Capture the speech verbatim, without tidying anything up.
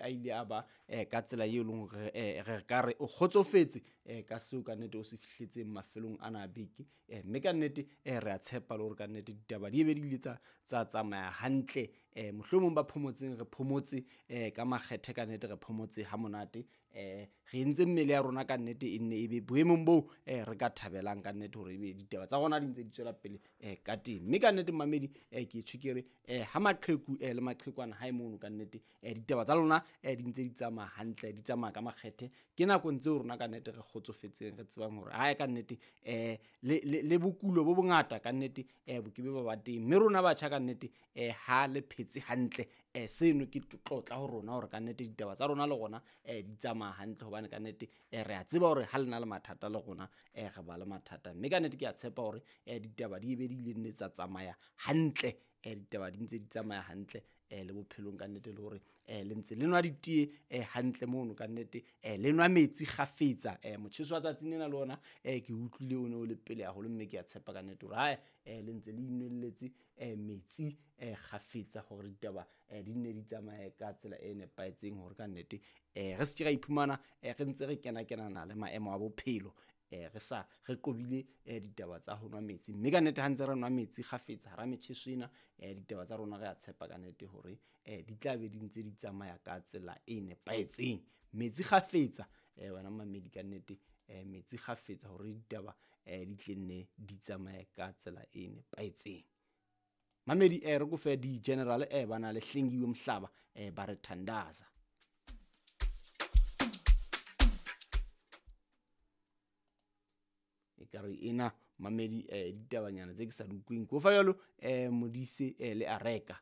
a ile a ba eh, ka tsela eo e leng hore eh, re ka re o kgotsofetse eh, ka seo ka nnete o se fihletseng mafelong ana a beke. Eh, mme ka nnete eh, re a tshepa le hore ka nnete ditaba di ebe di ile tsa tsa tsamaya hantle. Eh, mohlomong ba phomotseng re phomotse eh, ka makgethe ka nnete re phomotse ha monate. Eh, re entse mmele ya rona ka nnete e nne e be boemong boo eh, re ka thabelang ka nnete hore ebe ditaba tsa rona di ntse di tswela pele eh, ka teng. Mme ka nnete mamedi eh, ke tjho ke re eh, ha maqheku eh, le maqhekwana hae mono ka nnete eh, ditaba tsa lona eh, di ntse di tsamaya hantle, di tsamaya ka makgethe. Ke nakong tseo rona ka nnete re kgotsofetseng, re tsebang hore hae ka nnete eh, le, le, le bokulo bo bongata ka nnete eh, bo ke be ba ba teng. Mme rona batjha ka nnete eh, ha le phetse hantle eh, seno ke tlotla ho rona hore ka nnete ditaba tsa rona le rona eh, di tsamaya hantle, hobane ka nnete eh, re a tseba hore ha le na le mathata le rona eh, re ba le mathata. Mme ka nnete ke a tshepa hore eh, ditaba di be di ile nne tsa tsamaya hantle, eh, ditaba di ntse di tsamaya hantle eh, le bophelong ka nnete, le hore eh, le ntse le nwa ditee eh, hantle mono ka nnete, eh, le nwa metsi kgafetsa. Eh, motjheso wa tsatsing lena le ona eh, ke utlwile o ne o le pele haholo, mme ke a tshepa ka nnete hore hae eh, le ntse le inwelletse eh, metsi eh, kgafetsa hore ditaba eh, di nne di tsamaye ka tsela e nepahetseng, hore ka nnete eh, re se ke ra iphumana eh, re ntse re kena-kenana le maemo a bophelo eh, re sa re qobile eh, ditaba tsa ho nwa metsi. Mme ka nnete ha ntse re nwa metsi kgafetsa hara metjheso ena eh, ditaba tsa rona re a tshepa ka nnete hore eh, di tla be di ntse di tsamaya ka tsela e nepahetseng. Metsi kgafetsa eh, wena mamedi ka nnete eh, metsi kgafetsa hore ditaba eh, di tle nne di tsamaye ka tsela e nepahetseng. Mamedi eh, re kofe di-general eh, ba na le Hlengiwe Mhlaba eh, ba re thandaza. Ekare ena mamedi eh, ditabanyana tse ke sa di utlweng. Ko fa jwalo eh, Modise eh, le Areka.